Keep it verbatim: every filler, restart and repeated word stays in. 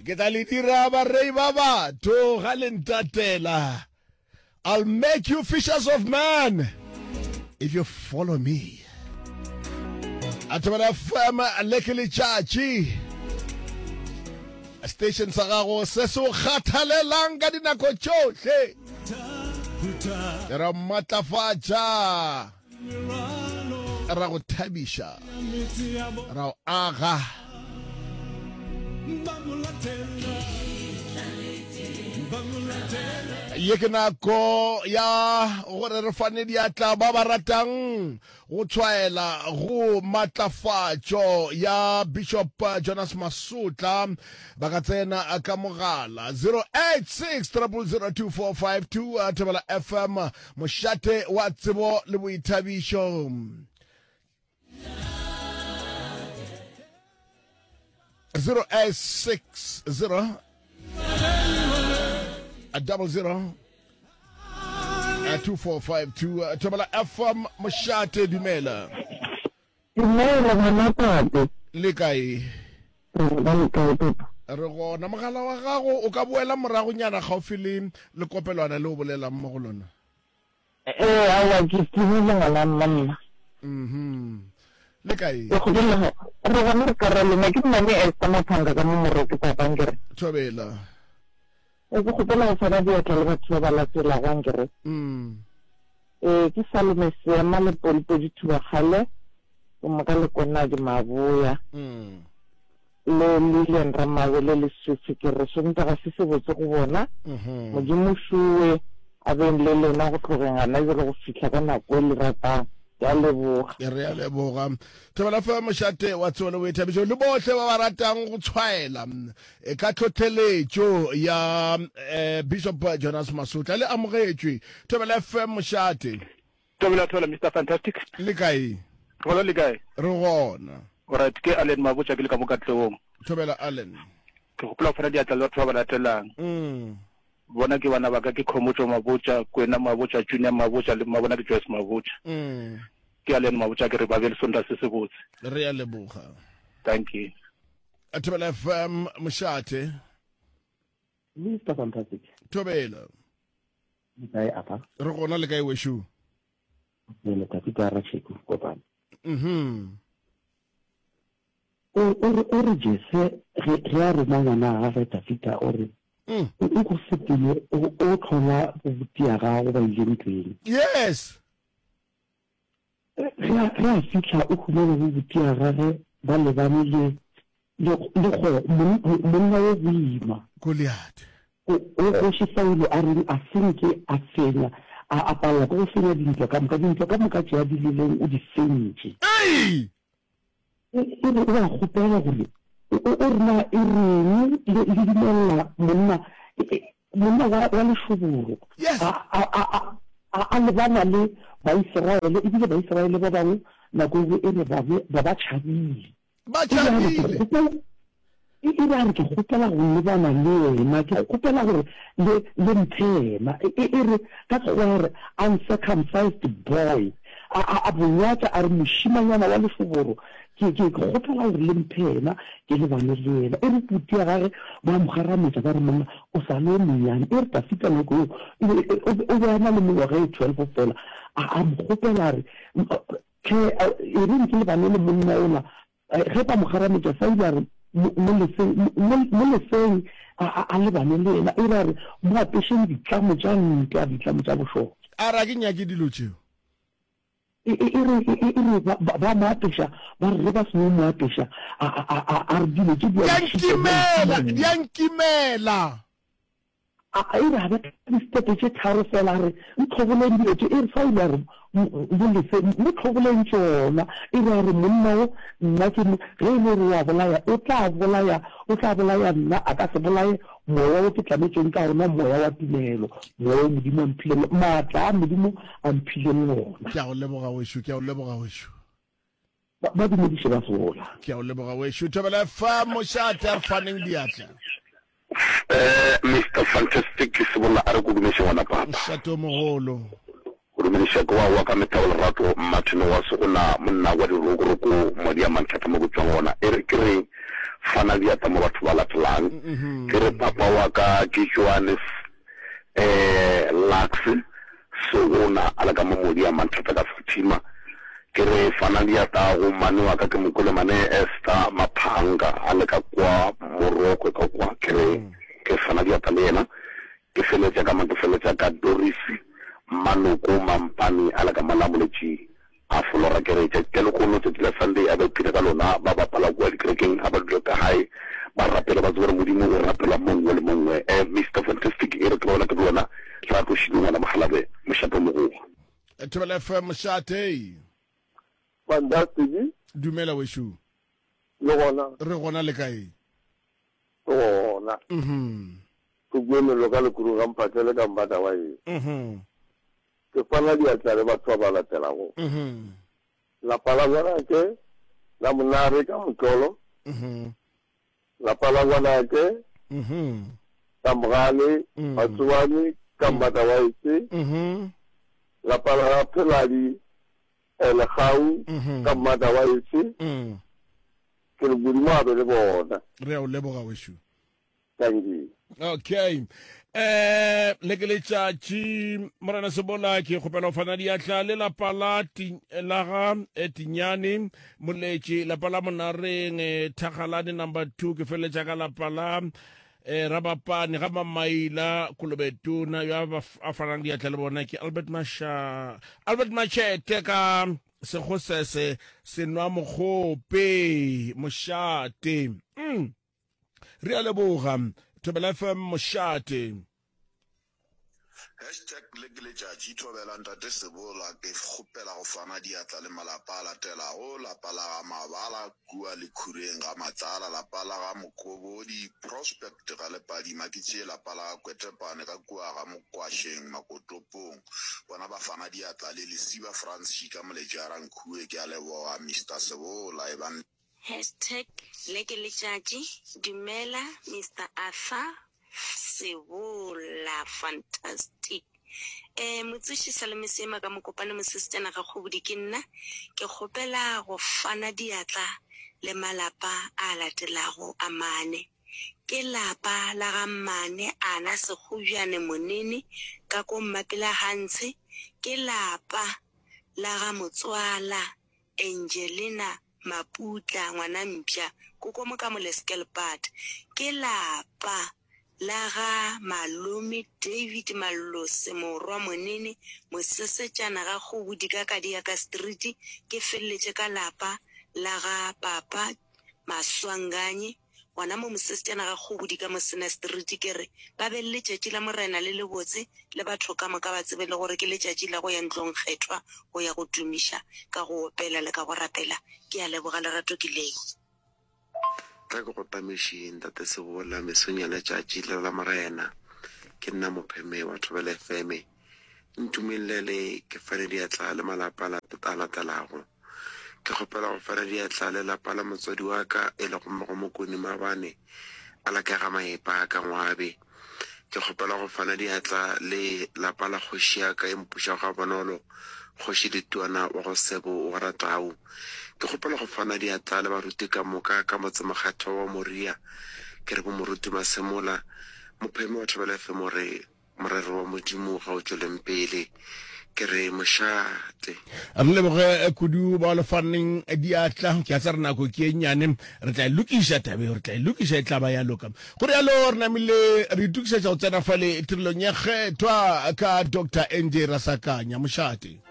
Ke tla le dira barei ba batho ga le ntatela. I'll make you fishers of men if you follow me. A Thobela F M le ke letšatši. Station sa gago se se o kgathalelang ka dinako tšohle. Ra matlafatša, ra go thabiša, ra o aga. Ye ke nako ya gore re fane diatla ba ba ratang go tshwaela go matlafatšo ya Bishop Jonas Masotla. Ba ka tsena ka mogala zero eight six triple zero two four five two. Thobela F M, mošate wa tsebo le boithabišo. zero eight six zero double zero two four five two. Thobela F M, mošate, dumela. Dumela ngwana tate. Le kae? Re ba le kae papa? Re gona. Mogala wa gago o ka boela moragonyana gaufi le lekopelwana le o bolelang mo go lona. Ee, aowa ke timile ngwana mma. Mhm. Le kae? Ke kgopela re gona re ka ra lena ke mmane Esther Maphanga ka mo Moroke papa nkere. Thobela. E ke kgopela go fana diatla le batho ba ba latelago ankere. Mm. Ee ke Salome Seema le Polipodi Thubakgale ke moka le Konadi Maboya. Mm. Le Lilian Ramabele le Sufi ke re Sontaga se se botse go bona. Mhm. Modimo šowe a beng le lena go tlogeng gana bjale go fihla ka nako e le ratang. Ke a leboga. Re a leboga. Thobela fa mošate wa tsebo le boithabišo le bohle ba ba ratang go tshwaela e ka tlhohleletšo ya eh, Bishop Jonas Masotla le amogetšwe. Thobela F M mošate. Thobela, thobela Mister Fantastic. Le kae? Gona le kae? Re gona. Alright, ke Allen Mabotja ke le ka mo Katlehong. Thobela Allen. Ke gopola go fana diatla le batho ba ba latelang. Mm. Bona ke bana ba ka ke Khomotšo Mabotja, Kwena Mabotja, Junior Mabotja le mmabona ke Joyce Mabotja. Mm. Ke Allen Mabotja ke re ba be le Sontaga se se botse. Re a leboga. Thank you. Thobela F M mošate. Mister Fantastic. Thobela. Le kae apa? Re gona, le kae wešo? Le letsatsi ka Ratšheko kopane. Mhm. O o re o re Jese ge ge a roma ngwana gagwe Dafida o re Mm. o o go sepele o o tlhola bobuti ya gago ba ile ntweng. Yes. Ge a ge a fihla o humana bobuti ya gagwe ba lebane le le le go monna wo boima. Goliath. O o kgoši Saulo a reng a senke a fenya a a palela ke go fenya dintwa ka moka dintwa ka moka tše a di leleng o di fentše. Ei! E e re o a kgopela gore o o o re na e reng le le dumella monna e e monna wa wa lešoboro Yes. a a a a a a lebana le Baiseraele ebile Baiseraele ba bangwe nako engwe e re ba be ba ba tšhabile. Ba E re a re ke tšhabile. kgopela e e re a re ke kgopela go lebana le yena ke kgopela gore le le mphe yena e e e re ka Sekgowa re uncircumcised boy a a a bonyatša a re mošimanyana wa lešoboro ke ke ke kgopela gore le mphe yena ke lebane le yena. E re puti ya gage ba mo kgarametša ba re monna o sa le o monnyane. E re Dafida nako eo e be e o be o be a na le mengwaga e twelve fela a a mo kgopela a re tlhe e reng ke lebane le monna ola. Ge ba mo kgarametša Saulo a re mo leseng mo mo leseng a a a lebane le yena. E re a re mo apešeng ditlamo tša ntwa ditlamo tša bošole. A re a ke nyake dilo tšeo. E e e re e e re ba ba ba mo apeša ba re ge ba seno mo apeša a a a a a re dilo tše di a Di a mo šita di a nkimela, nkimela. di a nkimela. A a e re a betha distepe tše tharo fela a re ntlhoboleng dilo tše. E re Saulo a re mo lese mo tlhoboleng tšona. E re a re monna wo nna ke mo ge e le gore o a bolaya o tla bolaya o tla bolaya nna a ka se bolaye moya wo ke tlametšweng ka ona moya wa tumelo moya wo Modimo a mphileng maatla a Modimo a mphileng ona. Ke a go leboga wešo, ke a go leboga wešo. Ba ba dumediše ba sola. Ke a go leboga wešo. Thobela fa mošate a re faneng diatla. Eh, Mister Fantastic Sebolla a re kudumeše ngwana papa. Mošate o mogolo. Go dumediša ke wa wa ka mehla wa lerato, Mmatheno wa Segona, monna wa dirokoroko, Modi a Manthata mo ke tšwang gona. E re ke re fana diatla mo batho ba latelang. Ke re papa wa ka ke Johannes eh Lux Segona a le ka mo Modi a Manthata ka Fatima. Ke re fana diatla go mmane wa ka ke Mokolemane Esther Maphanga a le ka kwa Morokwe ka kwa. Ke re ke fana diatla le yena. Ke feletša ka mang? Ke feletša ka Doris Mmanoko Mampane a le ka mola Moletši a folora. Ke re tšatši la lehono, tšatši la Sunday, a ba ipshine ka lona, ba bapala kua dikerekeng, a ba dule ka gae ba rapele, ba tsebe gore Modimo o rapelwa mo nngwe le mo nngwe. Eh, Mister Fantastic, e re ke ba bona ke le wena, ra tlo šidi ngwana Mokgalabje, mošate o mogogo. Thobela F M, mošate. Fantastic. Dumela wešo. Le gona? Re gona, le kae? Re gona. Mhm. Ke kwe mello ka lekurung ga Mphahlele ka Mbata wa eng. Mhm. Ke fana diatla le batho ba ba latelago. Mhm. Lapa la ngwanake la Monare ka Motlolo. Mhm. Lapa la ngwanake Mhm. la Mogale Mm. Matsobane ka Mbata wa ese. Mhm. Lapa la ga Pheladi eh, Lekgau Mhm. ka Mbata wa ese. Mm. Ke re Modimo a be le bona. Re a o leboga wešo. Thank you. Okay. Eh le ke letšatši Morena Sebola ke kgopela go fana diatla le lapa la ti, la ga eh, Tinyane Moletši, lapa la Monareng eh, Thagalane number two, ke feleletša ka lapa la eh, Rabapane ga Mamaila Kolobetona yo a ba f- a fanang diatla le bona ke Albert Masha Albert Machete ka Segosese Senwa Mokgope Mošate. Mm. Re a leboga Thobela F M Mošate. Hashtag le ke letšatši Thobela Ntate Sebola ke kgopela go fana diatla le malapa a latelago, lapa la ga Mabala kua Lekhureng ga Matlala, lapa la ga Mokobodi Prospect ga Lepadima, ke tšee lapa la ga Kwetepane ka kua ga Mokwašeng Makotopong, bona ba fana diatla le Lesiba Frans Šika Moletši a Rankhue, ke a leboga Mister Sebola ebang Hashtag le ke letšatši Dumela Mister Arthur Sebola Fantastic Eh motsoši Salome Seema ka Mokopane mosesetsana ga Kgobodi ke nna ke kgopela go fana diatla le malapa a latelago a mane ke lapa la ga mmane Ana Sekgobjane Monene ka ko Mmapela Hantshe ke lapa la ga motswala Angelina Maputla ngwana mpša koko mo ka Moleskelpad ke lapa la ga malome David Mallose morwa Monene mosesetšana ga Kgobodi ka Kadiaka Street ke feleletše ka lapa la ga papa Maswanganyi gona mo mosesetšana ga Kgobodi ka Mosena Street ke re ba be le letšatši la Morena le lebotse le batho ka moka ba tsebe le gore ke letšatši la go ya ntlong kgethwa go ya go tumiša ka go opela le ka go rapela. Ke a leboga lerato ke leo. Tla ke go tamiše Ntate Sebola mesong ya letšatši le la Morena. Ke nna Mopheme wa Thobela F M. Ntumelele ke fane diatla le malapa a latelago. Ke kgopela go fana diatla le lapa la motswadi wa ka e lego mmago Mokone Maabane a la ka ga Maepa ka Ngwabe. Ke kgopela go fana diatla le lapa la kgoši ya ka e mpušago gabonolo, Kgoši Letuana wa go Sebo wa Ratau. Ke kgopela go fana diatla le baruti ka moka ka motsemokgethwa wa Moria. Ke re bo Moruti Masemola, Mopheme wa Thobela F M o re morero wa Modimo ga o tšweleng pele. Ke re mošate. Re leboge kudu ba le faneng diatla. Ke a tsa re nako ke e nnyane, re tla e lokiša taba eo, re tla e lokiša, e tla ba ya loka. Go rialo re namile re itokišetša go tsena fale tirelong ya kgethwa ka Doctor N J Rasakanya. Mošate.